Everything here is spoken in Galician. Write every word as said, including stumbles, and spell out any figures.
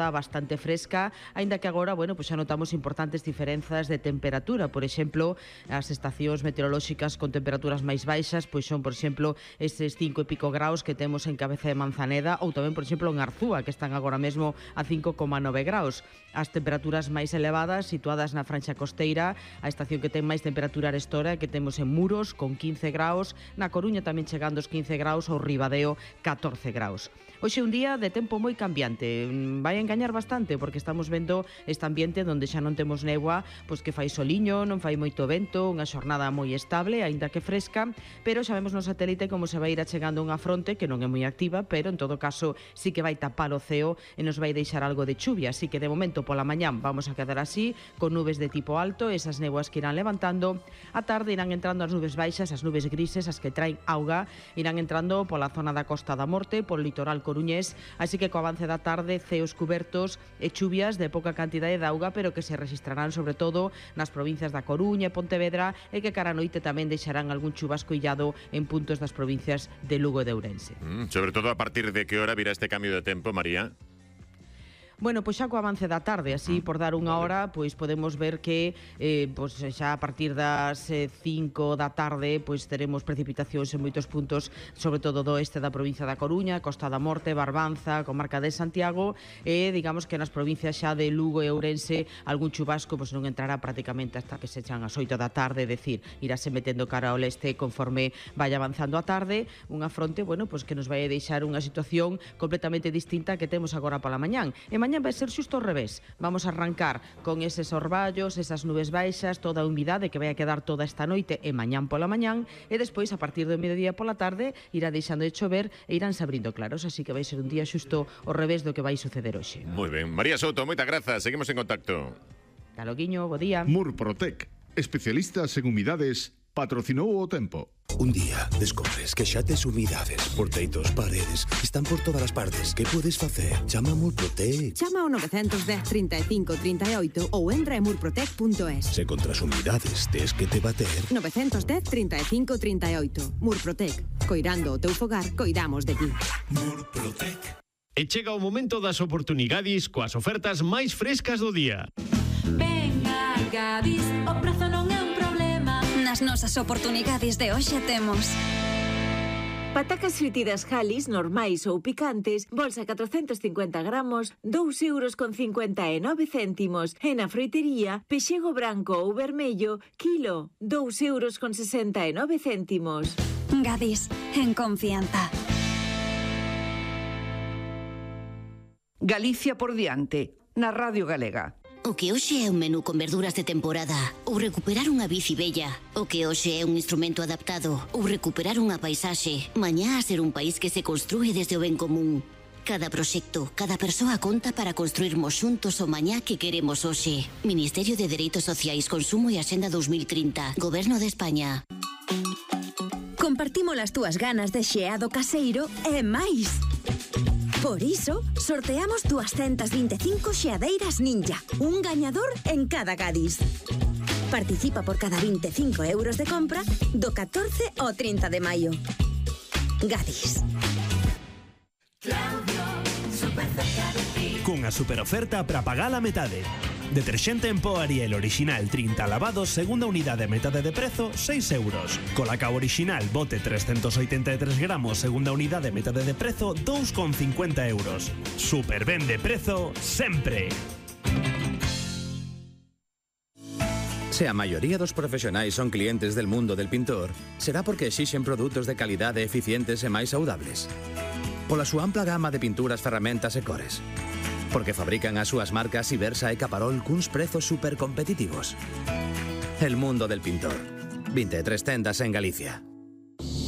bastante fresca, aínda que agora, bueno, pois xa notamos importantes diferenzas de temperatura. Por exemplo, as estacións meteorolóxicas con temperaturas máis baixas pois son, por exemplo, estes cinco e pico graus que temos en Cabeza de Manzaneda ou tamén, por exemplo, en Arzúa, que están agora mesmo a cinco coma nove graus. As temperaturas máis elevadas situadas na franxa costeira, a estación que ten máis temperatura arestora que temos en Muros con quince graus, na Coruña tamén chegando aos quince graus ou Ribadeo catorce graus. Hoxe un día de tempo moi cambiante, vai engañar bastante porque estamos vendo este ambiente onde xa non temos néboa, pois que fai soliño, non fai moito vento, unha xornada moi estable, aínda que fresca, pero xa vemos no satélite como se vai ir achegando unha fronte que non é moi activa, pero en todo caso sí que vai tapar o ceo e nos vai deixar algo de chuvia, así que de momento pola mañán vamos a quedar así, con nubes de tipo alto, esas néboas que irán levantando, a tarde irán entrando as nubes baixas, as nubes grises, as que traen auga, irán entrando pola zona da Costa da Morte, polo litoral coruñés, así que co avance da tarde ceos cubertos e chuvias de pouca cantidade de auga, pero que se registrarán sobre todo nas provincias da Coruña e Pontevedra e que cara a noite tamén deixarán algún chubasco illado en puntos das provincias de Lugo e de Ourense. Mm, sobre todo a partir de que hora virá este cambio de tempo, María? Bueno, pois xa co avance da tarde, así por dar unha hora, pois podemos ver que eh, pois xa a partir das eh, cinco da tarde pois teremos precipitacións en moitos puntos, sobre todo do oeste da provincia da Coruña, Costa da Morte, Barbanza, comarca de Santiago, e digamos que nas provincias xa de Lugo e Ourense algún chubasco pois non entrará prácticamente hasta que se echan as oito da tarde, é dicir, irase metendo cara ao leste conforme vai avanzando a tarde, unha fronte, bueno, pois que nos vai a deixar unha situación completamente distinta que temos agora pola mañán. E mañán vai ser xusto ao revés. Vamos a arrancar con eses orballos, esas nubes baixas, toda a humidade que vai a quedar toda esta noite e mañán pola mañán, e despois, a partir do mediodía pola tarde, irá deixando de chover e iránse abrindo claros, así que vai ser un día xusto ao revés do que vai suceder hoxe. Moi ben. María Souto, moitas grazas. Seguimos en contacto. Taloguiño, bo día. Murprotec, especialistas en humidades, patrocinou o tempo. Un día descobres que xa tes humidades por teitos, paredes, están por todas as partes. Que podes facer? Chama a Murprotec. Chama ao nove un cero, trinta e cinco, trinta e oito ou entra en murprotec punto es. Se contra as humidades tes que te bater. nove un cero, trinta e cinco, trinta e oito. Murprotec. Coirando o teu fogar, coidamos de ti. Murprotec. E chega o momento das oportunidades coas ofertas máis frescas do día. Venga, Gadis, o prezo non é un problema. Nas nosas oportunidades de hoxe temos patacas fritidas Halis normais ou picantes, bolsa catrocentos cincuenta gramos, dous euros con cincuenta e nove céntimos. E na froitería, pexego branco ou vermello, kilo, dous euros con sesenta e nove céntimos. Gadis, en confianza. Galicia por diante, na Radio Galega. O que hoxe é un menú con verduras de temporada ou recuperar unha bici bella. O que hoxe é un instrumento adaptado ou recuperar unha paisaxe. Mañá a ser un país que se construe desde o ben común. Cada proxecto, cada persoa conta para construirmos xuntos o mañá que queremos hoxe. Ministerio de Dereitos Sociais, Consumo e Axenda dos mil trinta. Goberno de España. Compartimos as túas ganas de xeado caseiro e máis. Por iso, sorteamos doscientas vinte e cinco xeadeiras Ninja, un gañador en cada Gadis. Participa por cada vinte e cinco euros de compra do catorce ao trinta de maio. Gadis. Cunha superoferta para pagar a metade. Deterxente en pó Ariel original trinta lavados, segunda unidade a metade de prezo, seis euros. Colacao original bote trescentos oitenta e tres gramos, segunda unidade a metade de prezo, dous con cincuenta euros. Super ben de prezo, sempre. Se a maioría dos profesionais son clientes del mundo del pintor, será porque exixen produtos de calidade eficientes e máis saudables. Pola súa ampla gama de pinturas, ferramentas e cores. Porque fabrican as súas marcas Ibersa e Caparol cuns prezos super competitivos. El mundo del pintor. vinte e tres tendas en Galicia.